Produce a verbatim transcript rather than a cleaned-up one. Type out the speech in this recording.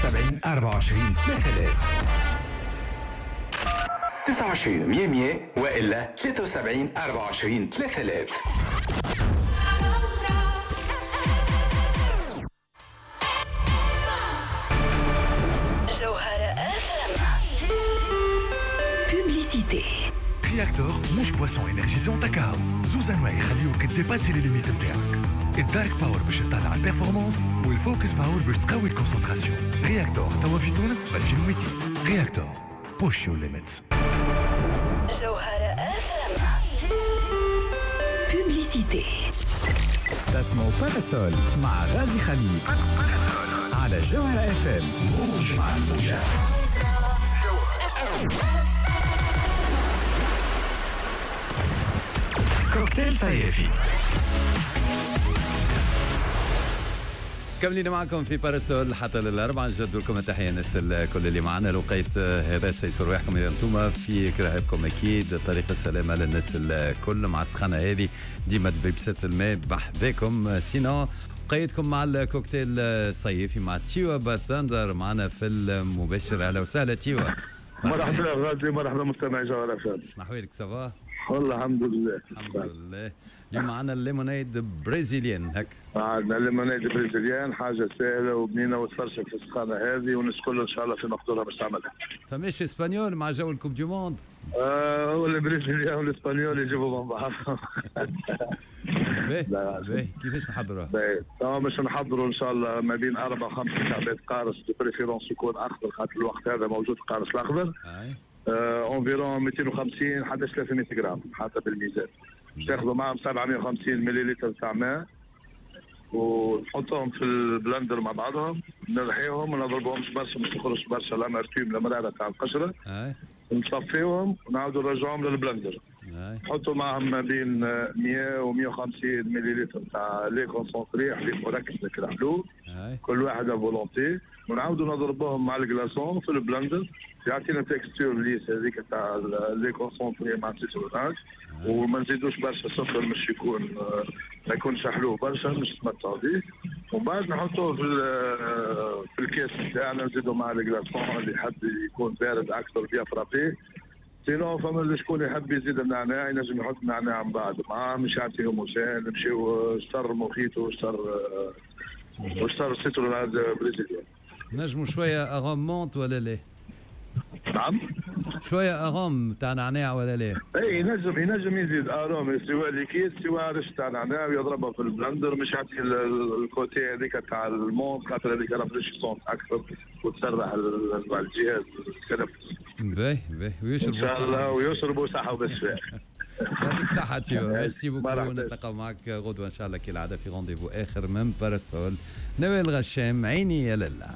وسبعين أربعة وعشرين ثلاثة آلاف. تسعة وعشرين مية مية والا ثلاثة وسبعين أربعة وعشرين ثلاثة آلاف. Réacteur مش boisson énergisante كاو، زوز انواع يخليوك dépasser les limites نتاعك. ال Dark Power باش تطلع ال performance، وال Focus Power باش تقوي ال concentration. Réacteur توا في تونس ب ألفين ومئتين. Réacteur، push your limits. جوهرة اف publicité. تسمعوا Parasol مع غازي خليل على جوهرة اف ام. موج مع الموجة. كوكتيل صيفي. كملين معكم في Parasol حتى للأربعة. نجدد لكم التحية الناس الكل اللي معنا. لقيت هذا سيسر رواحكم إذا أنتم في كراهبكم، أكيد طريق السلامة للناس الكل مع السخانة هذه ديما ببسات الماء بحذاكم. sinon قيدكم مع الكوكتيل الصيفي مع تيوا باتندر معنا في المباشر. أهلا وسهلا تيوا. مرحبا غازي، مرحبا مستمعي جوهرة اف ام. شنو ça va؟ والله الحمد لله. الحمد لله. اليوم معنا ال limonade brésilienne. هك عندنا ال limonade brésilienne، حاجة سهلة وبنينه وتفرشك في السخانه هذه، والناس الكل ان شاء الله في مقدورها باش تعملها. فماش espagnol مع جو ال coupe du monde؟ آه هو ال brésilien وال espagnol يجيبوا من بعض. باهي باهي، كيفاش نحضروها؟ باهي، توا باش نحضروا ان شاء الله ما بين اربع وخمس كعبات قارص، de préférence يكون اخضر خاطر الوقت هذا موجود القارص الاخضر. environ مئتين وخمسين حتى ثلاثمية غرام حتى بالميزان. باش تاخذوا معهم سبعمية وخمسين مليلتر تاع ماء ونحطهم في ال blender مع بعضهم، نرحيهم وما نضربهمش برشا باش تخرج برشا l'amertume المرارة تاع القشرة. نصفيهم ونعاودوا نرجعوهم لل blender. نحطوا معهم ما بين مية و مية وخمسين مليلتر تاع lait concentré، حليب مركز لك الحلو، كل واحد volonté، ونعاودوا نضربوهم مع ال glaçons في ال blender، يعطينا texture lisse هذيك تاع lait concentré مع citronnade. وما نزيدوش برشا سكر باش يكون ما يكونش حلو برشا باش تمتعوا به. ومن بعد نحطوه في في الكاس تاعنا، نزيدو مع ال glaçons اللي يحب يكون بارد اكثر bien frappé. sinon فما شكون يحب يزيد النعناع ينجم يحط النعناع من بعد معاه، مش يعطي homogène. نمشيو شطر موخيتو وشطر وشطر citronnade brésilienne. نجموا شوية arôme menthe ولا لا؟ نعم؟ شوية arôme تاع نعناع ولا لا؟ اي ينجم ينجم يزيد arôme سواء liquide سواء رش تاع نعناع ويضربها في ال blender، مش يعطي ال côté هذيك تاع ال menthe خاطر هذيك rafraîchissante اكثر وتسرح الجهاز التنفس. باهي باهي، ويشربوا ان شاء الله ويشربوا صحة وبالشفاء. يعطيك الصحة تيوا، merci beaucoup. نتلاقاو معك غدوة إن شاء الله كالعادة في rendez-vous آخر من Parasol. نوال غشام، عيني يا لالا.